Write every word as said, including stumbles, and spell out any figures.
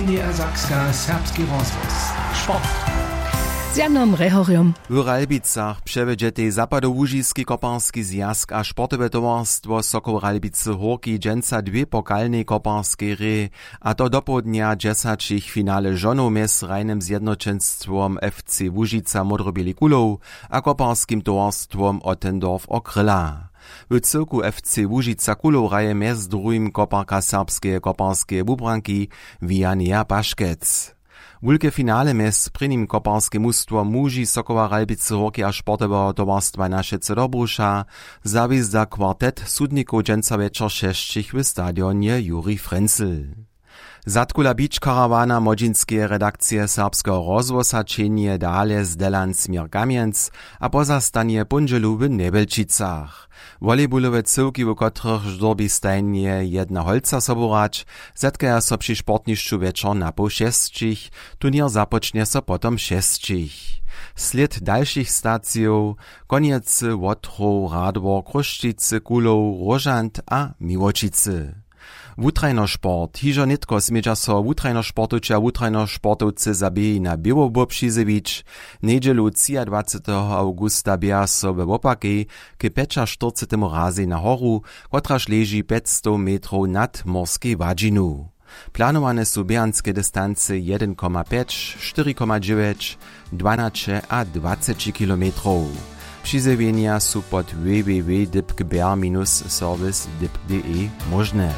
Niedersachska, serbski rozhłos. Sport. Z Janom Rehorjom. W Ralbicach přewjedźetej zapadołužiski koparski zwjazk a sportowe towarstwo Sokoł Ralbicy Hórki dźensa dwě pokalnej koparskej hrě, a to dopołdnja dźesaćich finale žonow mjez rajnym zjednoćenstwom F C Łužica Módroběli Kulow a koparskim towarstwom Ottendorf Okryla. W cyłku F C Łužica Kulow hraje mjez druhim koparka serbskeje koparskeje wubranki Wianeja Paškec. Wulke finale mjez prěnim koparskim mustwom muži Sokoła Ralbicy Hórki a sportoweho towarstwa Naše Cedobruša zawězda kwartet sudnikow dźensa wječor šesćich w stadionje Juri Frenzel. Zadkula Beach Caravana młodźinskeje redakcije Serbskeho rozhłosa ćehnje dale z Delan směr Kamjenc a pozastanje póndźelu w Njewjelčicach. Volejbulowe cyłki, w kotrychž dyrbi stajnje jedna holca sobu hrać, zetkaja so při sportnišću wječor na poł šesćich. Turněr započnje so potom šesćich. Slěd dalšich stacijow: Konjecy, Wotrow, Radwor, Chrósćicy, Kulow, Róžant a Miłoćicy. Wutrajnosport. Hižo nětko smědźa so wutrajnosportowče a wutrajnosportowcy za běhi na běłowbo přizjewić. Njedźelu třiadwaceteho awgusta běha so we wopakej k pjećaštyrcetemu razej na horu, kotraž leži pjećstow metrow nad morskej hładźinu. Planowane su běhanske distancy jedyn koma pjeć, štyri koma dźewjeć, dwanaće a dwaceći kilometrow. Přizjewjenja su pod w w w dypk ber minus serwis dypk d e móžne.